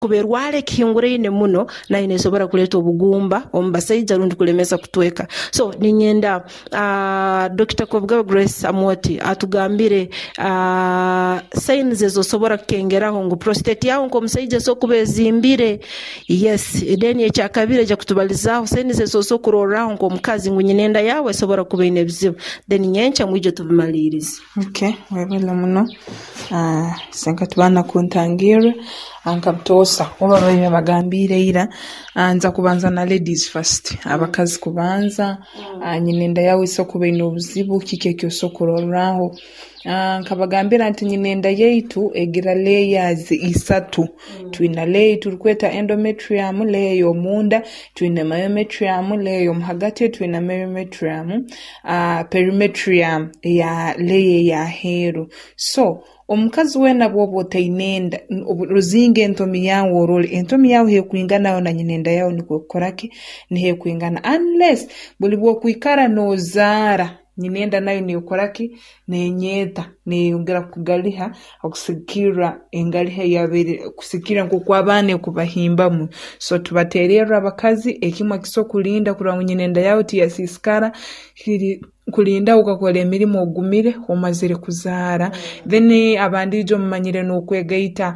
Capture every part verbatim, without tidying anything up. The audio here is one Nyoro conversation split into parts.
Kuba erwara ekihinguraine muno, nayo neesobora kuleeta obugumba omu basaija rundi kulemesa kutweka. So ninyenda uh, Doctor Kobugabe Grace Amwoti atugambire uh, signs ezosobora kukengeraho ngu prostate yawe nk'omusaija esobola kuba ezimbire. Yes, then ekyakabiri, ejja kutubalizaaho signs ezosobola kurorraho nk'omukazi ngu nyina enda yawe esobora kuba eine ebizibu. Then nyenkya mwije tubimaliirize. Okay, webale muno. uh, senka tubaana kuntangirra nka butoosa oba babiire bagambiire ira. uh, nza kubanza na ladies first, abakazi kubanza. uh, nyina enda yawe esobola kuba eine obuzibu, kiki eki osobola kurorraho? uh, nkabagambira nti nyina enda yaitu egira layers isatu. Twina layer turukweta endometrium, layer y'omunda, twine myometrium, layer y'omuhagati, twine myometrium, uh, perimetrium eya layer ey'aheeru. So omukazi weena bw'oba otaine enda, ruzinga entomi yawe orole entomi yawe hekwingana na nyina enda yawe, nikwo ekukora ki, niho ekwingana, unless buli bw'okwikara noozaara, nyina enda nayo neekora ki, nenyeeta, neeyongera kugaliha okusigikirra engaliha eyabaire, kusigikirra nk'oku abaana ekubahimbamu. So tubateererra abakazi, ekimu ekisobola kulinda kurora ngu nyina enda yawe tiyasiisikara kiri kulinda okakora emirimo ogumire omazire kuzaara. Then abandiijo mumanyire n'okwegaita,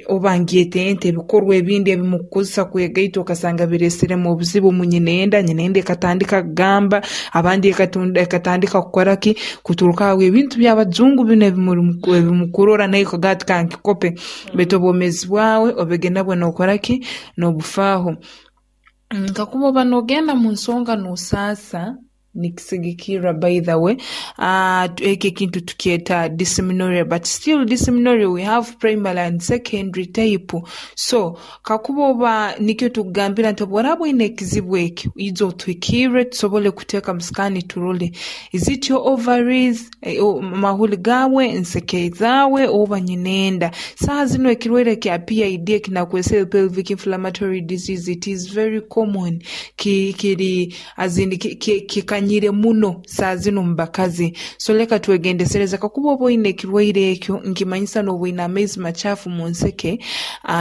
oba ngyete nte, ebikorwa ebindi ebimukukozesa kwegaita, okasanga bireeseremu obuzibu mu nyina enda, nyina enda ekatandika kugamba, abandi ekatandika kukora ki, kuturuka aho ebintu by'abajungu binu ebimukurora, nawe okagamba ati kankikope, baitu obwomeezi bwawe obege nabwo nookora ki, noobufaaho. Kakuba oba noogenda mu nsonga noosaasa, nikisigikirra, by the way, eki ekintu tukyeta dysmenorrhea, but still dysmenorrhea we have primary and secondary type. So kakuba oba, nikyo tukugambira nti obu oraaba oine ekizibu eki, ija otuhikirre tusobole kuteeka mu scan turole, is it your ovaries, mahuli gaawe, enseke zaawe, oba nyina enda. Saaha zinu ekirwaire ekya P I D ekinakwesere pelvic inflammatory disease, it is very common, kiri kikanyire muno saaha zinu mu bakazi. So leka twegendesereze. Kakuba oba oine ekirwaire ekyo, nkimanyisa nooba oine amaizi macaafu mu nseke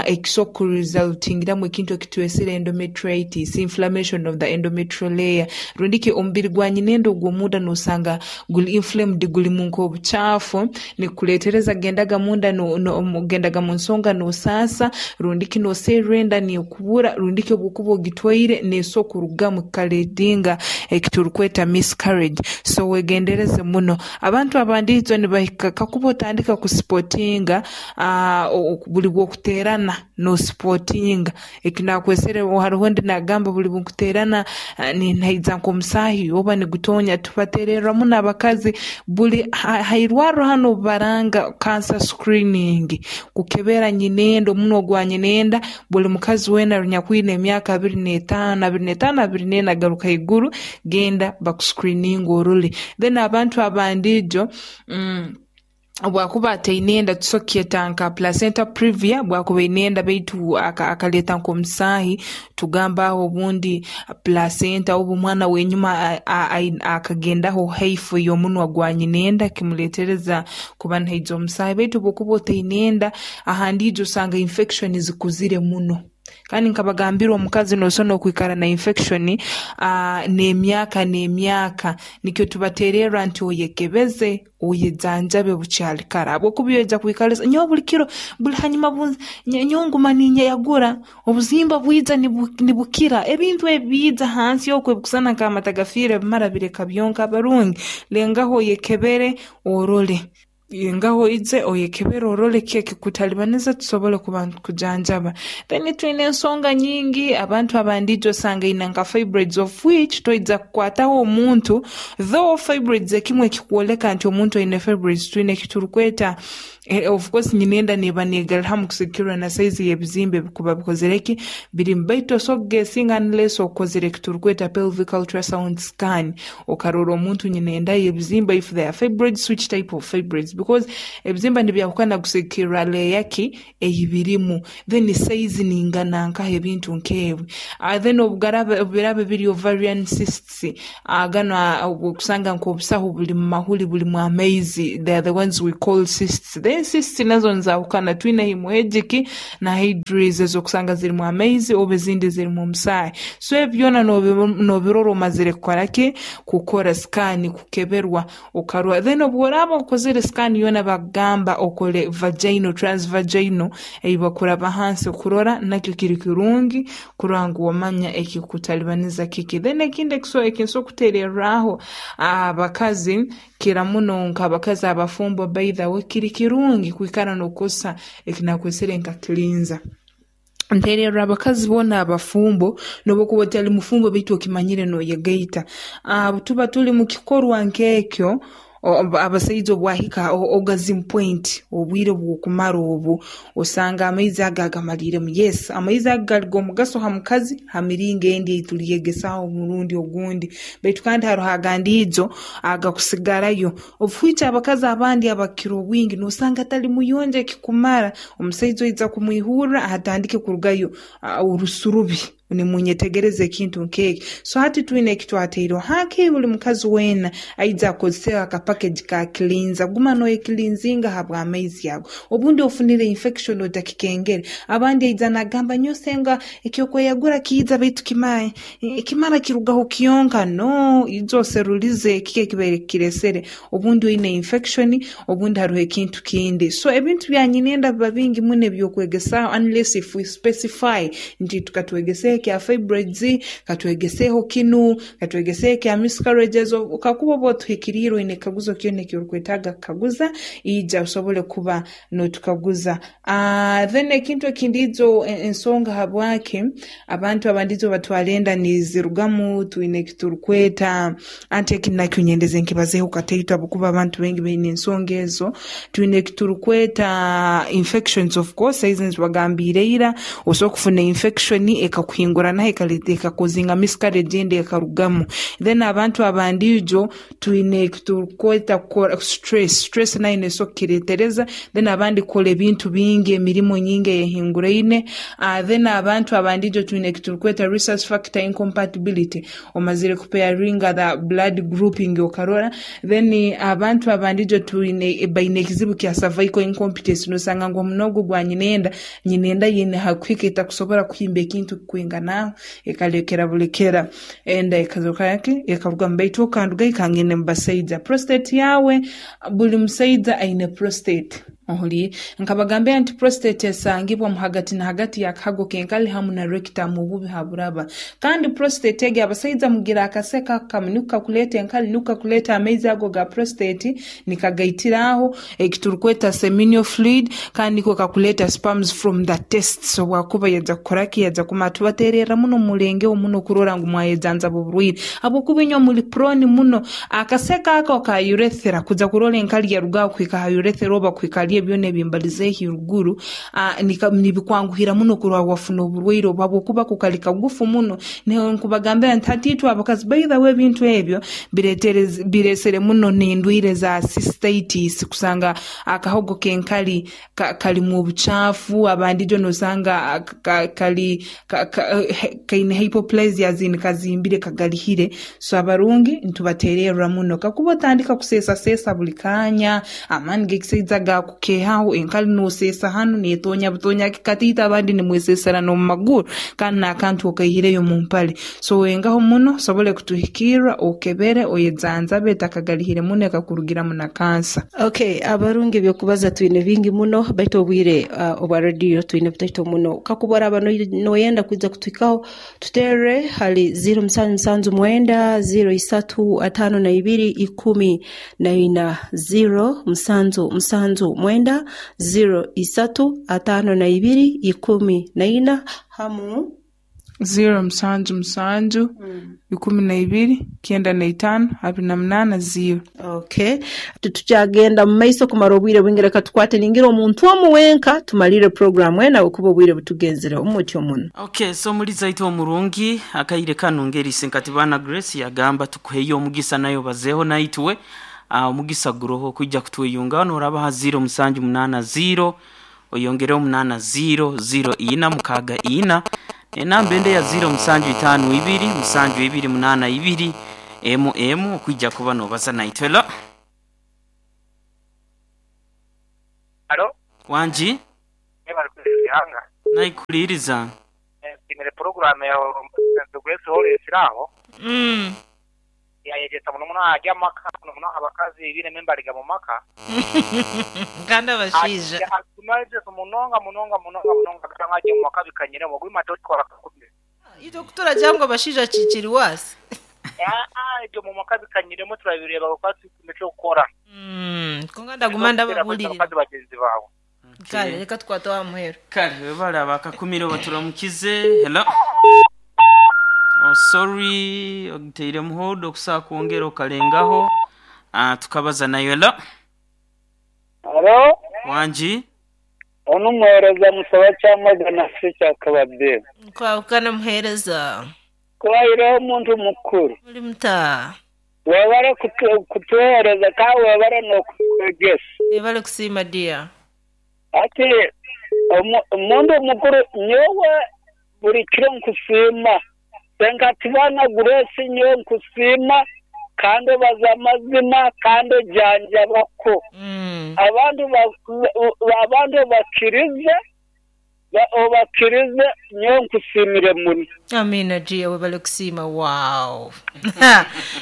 ekisobola kuresultingiramu ekintu ekitwesere endometritis, inflammation of the endometrial layer, rundi ki omubiri gwa nyina enda ogw'omunda noosanga guli inflamed, gulimu nk'obucaafu, nikukuleetereza gendaga munda, gendaga mu nsonga noosaasa, rundi ki nooserra enda neekubura, rundi ki obu okuba ogitwaire neesobola kurugamu kikaleetinga ekiturukweta miscarriage. So wegendereze muno. Abantu abandiijo nibahika, kakuba otandika kuspottinga, buli bw'okuteerana nospottinga, eki nakwesere, haroho ondi naagamba buli bunkuteerana nihaija nk'omusaahi oba nigutonya. Tubateererra muno abakazi, buli ha irwarro hanu obu baranga cancer screening, kukebera nyina enda, omunwa gwa nyina enda, buli mukazi weena anyakwine emyaka abiri n'etaano, abiri n'etaano, abiri n'ena garuka haiguru, genda bakuscreeninge orole. Then abantu abandiijo, obu akuba ataine enda, tusobola kukyeta nka placenta previa. Bwakuba aine enda baitu akaleeta nk'omusaahi, tugamba aho obundi placenta oba omwana w'enyuma akagendaho haifu y'omunwa gwa nyina enda, kimuleetereza kuba nihaija omusaahi. Baitu obu okuba otaine enda, ahandiijo osanga infection zikuzire muno, kandi nkabagambira omukazi noosobora n'okwikara na infection n'emyaka n'emyaka. Nikyo tubateererra nti oyekebeze, oyejanjabe bukyali kara, habwokuba oija kwikara, nyowe buli kiro, buli hanyuma nyowe nguma ninyeyagura, obuzimba bwija nibukira, ebintu ebi biija hansi oku ebikusana nk'amata gafiire, bimara bireka byonka. Abarungi, lengaho oyekebere orole, lengaho oije oyekebere orole kiki ekikutalibaniza, tusobole kuba nitukujanjaba. Then twine ensonga nyingi, abantu abandiijo osanga aine nka fibroids, of which toija kukwataho omuntu, though fibroids ekimu ekikwoleka nti omuntu aine fibroids, twine ekiturukweta, of course nyina enda neeba neegarramu kusigikirra na size y'ebizimba ebikuba bikozere ki, birimu, baitu osobola kuguessinga unless okozere ekiturukweta pelvic ultrasound scan, okarora omuntu nyina enda ye ebizimba, if they are fibroids, which type of fibroids, because ebizimba nibyahukana kusigikirra layer ki eyibirimu, then size ningana nkaha, ebintu nk'ebi. Then obu biraaba biri ovarian cysts, ganu obu okusanga nk'obusaho buli mu mahuli, bulimu amaizi, they are the ones we call cysts. Then Then cysts nazo nizahukana, twine hemorrhagic na hydrous, ezokusanga zirimu amaizi oba ezindi zirimu omusaahi. So ebi byona noobirora omazire kukora ki, kukora scan, kukeberwa okarora. Then obu oraaba okozere scan yoona, bakugamba okole vaginal, transvaginal, ei bakuraba hansi kurora, nakyo kiri kirungi kurora ngu wamanya ekikukutalibaniza kiki. Then ekindi eki nsobola kuteererraaho abakazi, kira muno nk'abakazi abafumbo, by the way, kiri kirungi kwikara nookozesa eki naakwesere nka cleanser. Nteererra abakazi boona abafumbo, n'obu okuba otali mufumbo baitu okimanyire nooyegaita, obu tuba tuli mu kikorwa nk'ekyo, abasaija obu ahika orgasm point, obwire bw'okumara obu, osanga amaizi ago agamaliiremu. Yes, amaizi ago gali g'omugaso ha mukazi ha miringo endi ei tuliyegesaaho omurundi ogundi, baitu kandi haroho agandi ijo agakusigarayo. Obu abakazi abandi abakukira obwingi noosanga atali muyonjo ekikumara, omusaija oija kumwihurra atandike kurugayo orusu rubi, nimunyetegereza ekintu nk'eki. So hati twine eki twataireho, hakiri buli mukazi weena aija akozeseho aka package ka cleanser, guma nooyecleansinga habw'amaizi ago. Obundi ofunire infection otakikengere. Abandi aija naagamba, nyowe senga ekyokweyagura kiija baitu kimara kimara kirugaho kyonka. No, ija oserulize kiki ekibaire kikireesere, obundi oine infection, obundi haroho ekintu kindi. So ebintu bya nyinenda biba bingi muno eby'okwegesaaho, unless if we specify nti tukatwegeseho ekya fibroids, katwegeseho kinu, katwegeseho ekya miscarriages. Kakuba oba otuhikiriire oine ekikaguzo kyona eki orukwetaaga kukaguza, ija osobole kuba nootukaguza. Then ekintu ekindi ijo, ensonga habwaki abantu abandi ijo batwara enda nizirugamu, twine eki turukweta, anti eki nakyo nyendeze nkibazeeho kataito habwokuba abantu baingi baine ensonga ezo. Twine eki turukweta infections, of course ezi nzibagambiire ira, osobola kufuna infection ekakuhinguranaho, ekaleeta ekacausinga miscarriage, enda ekarugamu. Then abantu abandi ijo twine eki turukweta stress, stress nayo neesobora kukireetereza. Then abandi kukora ebintu bingi, emirimo nyingi eyehinguraine. Then abantu abandi ijo twine eki turukweta rhesus factor incompatibility, omazire kupairinga the blood grouping okarora. Then abantu abandi ijo twine baine ekizibu kya cervical incompetence, noosanga ngu omunwa ogu gwa nyinenda, nyinenda eine hakuhika etakusobora kuhimba ekintu kwinganaho, ekalekera bulekera enda ekazooka ki ekarugamu. Baitu okandugayo kangende mu basaija, prostate yawe, buli musaija aine prostate, ohuliire? Nkabagambira nti prostate esangibwa mu hagati na hagati y'akahago k'enkali hamu na rectum, obubi haburaba. Kandi prostate egi, abasaija mugira akaseka kamu niko kakuleeta enkali, niko kakuleeta amaizi ago ga prostate, nikagaitiraho eki turukweta seminal fluid, kandi niko kakuleeta sperms from the testes obu akuba yaija kukora ki, yaija kumara. Tubateererra muno mulengeho muno kurora ngu mwayejanjaba oburwaire, habwokuba inywe muli prone muno. Akaseka ako ka urethra, kuja kurora enkali yarugaho kuhika ha urethra oba kuhika hali ebyona ebimbalizeeho iruguru, nibikwanguhira muno kurora wafuna oburwaire obu habwokuba ko kali kagufu muno. Nkubagambira nti hati itwe abakazi, by the way, ebintu ebyo bireesere muno n'endwaire za cystitis, kusanga akahogo k'enkali kalimu obucaafu. Abandi ijo noosanga kali kaine hypoplasia, kazimbire, kagalihire. So abarungi nitubateererra muno, kakuba otandika kuseesaseesa buli kaanya, amaani g'ekisaija gaakukeehaho, enkali nooseesa hanu neetoonya butonya kataito, abandi nimweseesera n'omu maguru kandi n'akantu okaihireyo mu mpale. So wengaho muno osobole kutuhikirra, okebere, oyejanjabe etakagalihire muno ekakurugiramu na kansa. Okay, abarungi, ebyokubaza twine bingi muno, baitu obwire uh, obwa rediyo twine butaito muno. Kakuba oraba noyenda kwija kutuhikaho, tuterre hali zero musanju musanju mwenda zero isatu atano na ibiri ikumi na ina, zero musanju musanju mwenda zero isatu atano na ibiri ikumi na ina, hamu zero musanju musanju ikumi na ibiri kyenda na itaano abiri na munaana zero. Okay, tukyagenda mu maiso kumara obwire bwingi, reka tukwate ningira omuntu omu wenka tumalire programu ena okuba obwire butugenzere omutyo muno. Okay, so muliza itwe omurungi, akaire kanu ngeri Senkatibana Grace yagamba tukuheyo omugisa nayo bazeho naitwe. uh, omugisa guroho kwijja kutweyunga noraba ha zero musanju munaana zero oyongereho munaana zero zero ina mukaaga ina, enamba ende ya zero musanju itaano ibiri musanju ibiri munaana ibiri emu emu okwijja kuba nobaza naitwe. Hello. Alo Wanji Banga Naikuliriza Nsimire program ya Grace Hall esiraho Mm yayegesa muno muno ajya maka muno muno abakazi bine membariga mu maka Kanda bashija Atumaje munonga munonga munonga munonga kanga je mu maka bikanyire mu gwima tokora kakubye Ito kutura jango bashija chichiri wasi Ah ah ibyo mu maka bikanyiremo turabireba kuko tumecho gukora Mm konga ndagumanda babulirira abakazi bagenzi bawe Kale reka twatoa muhero Kale webale bakakumira baturamukize hello Oh sorry ogiteire muhodo okusa kwongera okalengaho ah tukabaza nayo hello Hello Wanji Ono muhereza musaba cyamagana se cyakababye Kwa ukana muhereza Kwahiraho omuntu mukuru Muri muta Webale kutuhereza ka webale n'okukwegesa Webale kusiima dia Ati omuntu mukuru nyowe buri kiro nkusiima Senkatibana Grace nyowe nkusiima kandi obaza amazima kandi ojanjabako Mm Abantu abantu bakirize obakirize nyowe nkusiimire muno Amina dia webale kusiima wow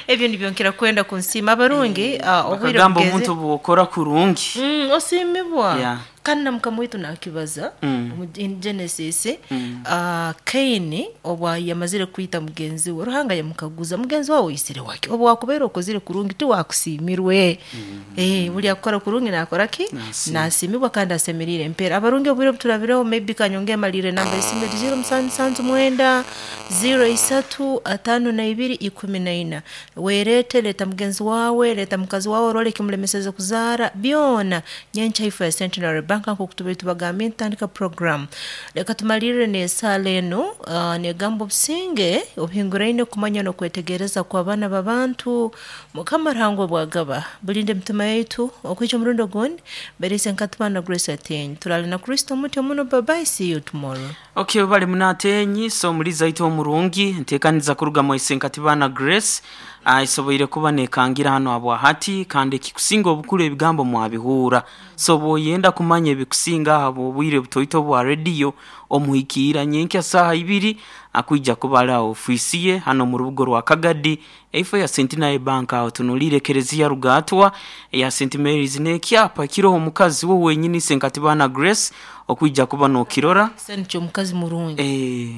Ebyo nibyo kwenda kunsima abarungi uh, obwire Bakagamba bugeze omuntu bwokora kurungi Mm osimibwa Yeah. Kandi namkamwitu nakibaza Mm. mu in Genesis Mm. uh, Kaini obwa yamazire kwita mugenzi we Ruhanga yamukaguza mugenzi wawe isire wake obwa wakubera okozire kurungi ti wakusimirwe mm. eh buli akora kurungi nakora ki nasimibwa kandi asemerire empera abarungi obwire buturabireho maybe kanyonge malire namba isimbe zero musanju musanju mwenda zero isatu atano na ibiri ikumi na ina werete leta mugenzi wawe leta mukazi wawe role kimulemeseze kuzara byona nyencha ifu ya Centenary Bank nko tubagambye ntandika program reka tumalire n'esaala eno uh, negamba obusinge obuhinguraine kumanya n'okwetegereza kw'abaana b'abantu mukama Ruhanga obwagaba bulinde emitima yaitu okwica omurundi ogundi berese nkatubana Grace Ateny turale na Kristo muti omuno bye bye see you tomorrow Okay bali munatenyi so muliza ito omurungi ntekaniza kuruga mu Senkatibana Grace aisoboire kuba nekangira hano abwa hati kandi kikusinga obukuru ebigambo mwabihura so boyenda kumanya ebikusinga abo obwire butoito bwa radio omuhikira nyenkya saha ibiri akuija kubala ofisi ye hano mu rubugo rwa Kagadi eifo ya Centenary Bank aho tunulire Kerezia Rugatwa ya Saint Mary's nekyapa kiroho mukazi wo wenyini Senkatibana Grace okuija kuba nokirora Sente omukazi murungi Eh.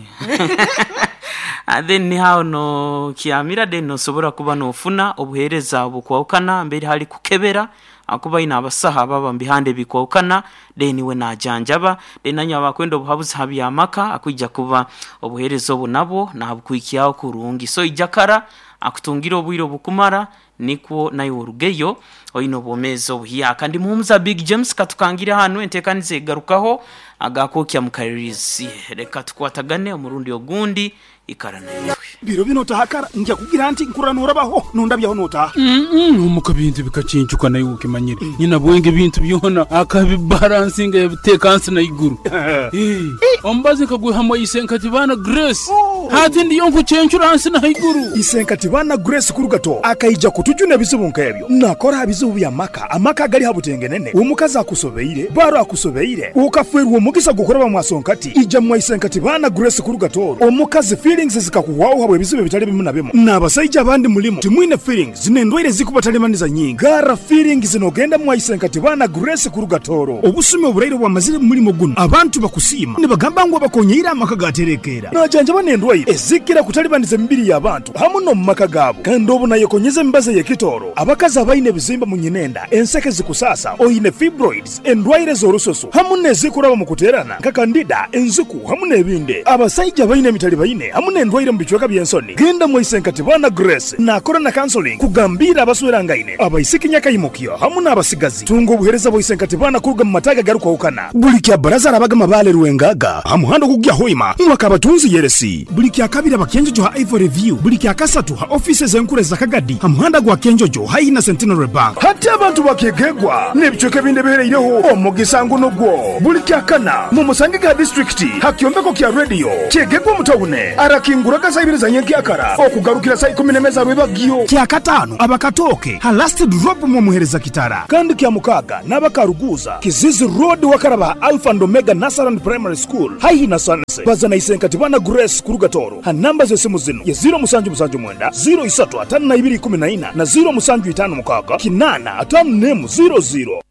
And then ni hao no kiamira then nosobora kuba nofuna obuhereza obukwawukana mbere hali kukebera akuba ina abasaha baba mbihande bikwawukana then we najanjaba then nanya abakwenda obuhabuzi habyamaka akuija kuba obuhereza obu nabwo nabukwikyaho kurungi so ijakara akutungira obwire obukumara nikwo nayo orugeyo oyino obwomeezi obuhiya kandi muhumuza Big James katukangira hano enteekaniza egarukaho agakokya mukaririzi reka tukwatagane omurundi ogundi ikara naitwe Biro bino tahakara nja kugira nti nkuranura baho nondabyaho notaha mm bintu bikacincuka nayo ukimanyire nyina bwenge bintu byona akabibalansinga yabiteka nsi na iguru Eh, ombazi kaguhamo Isenkatibana Grace hati ndiyo nkucencura nsi na iguru Isenkatibana Grace kurugato akaija kutujuna ebizibu nk'ebyo nakora bizibu bya maka amaka gali habutengenene omukazi akusobeire baro akusobeire ukafwerwa omugisa gukora bamwasonkati ija mwa Isenkatibana Grace kurugato omukazi feelings zikakuwawo habwe ebizibu ebitali bimu na bimu n'abasajja abandi mulimu timwine feelings zinendwaire zikubatalimaniza nyingi gara feelings zinogenda mwa Isenkatibana Grace kurugatoro obusumi oburaire bwamazire mu mulimo guno abantu bakusiima nibagamba ngu abakonyeire amaka gaterekera najanjaba n'endwaire ezikira kutalibaniza emibiri y'abantu hamu no mu maka gaabo kandi obu nayekonyeza emibazi ey'ekitooro abakazi abaine ebizimba mu nyinenda enseke zikusasa oyine fibroids endwaire z'orususu hamu n'ezikuraba mu kuteerana nka kandida enziku hamu n'ebindi abasajja abaine emitali baine hamu n'endwaire mu bicweka by'ensoni genda mu Isenkatibana Grace nakora na counseling kugambira abaswerangaine abaisiki nyakayimukyo hamu n'abasigazi tunga obuhereza bwa Isenkatibana kuruga mu mataga garukwawukana buli kya baraza arabaga mabale rwengaga hamuhando kugya hoima mwaka abatunzi yeresi buli Buli kyakabiri abakenjojo ha Ivory View, buli kyakasatu ha offices enkuru za Kagadi ha muhanda gwa Kenjojo haihi na Centenary Bank. Hati abantu bakegegwa n'ebicweka ebindi ebihereireho omugisa nguno gwo buli kyakana mu musange ga district ha kyombeko kya radio kyegegwa mutawune arakinguraga saa ibiri za nyenkyakara okugarukira saa ikumi n'emwe za rwebagyo. Kyakataano abakatooke ha last drop mwomuhereza kitara, kandi kya mukaaga n'abakaruguza Kizizi Road wakaraba Alpha and Omega Nursery Primary School haihi na Sanse. Baza na Isenkatibana Grace kuruga Toro ha namba z'esimu zino ye ziro musanju musanju mwenda ziro isatu atano na ibiri ikumi na ina na ziro musanju itano mukaaga kinana atano nemu ziro ziro.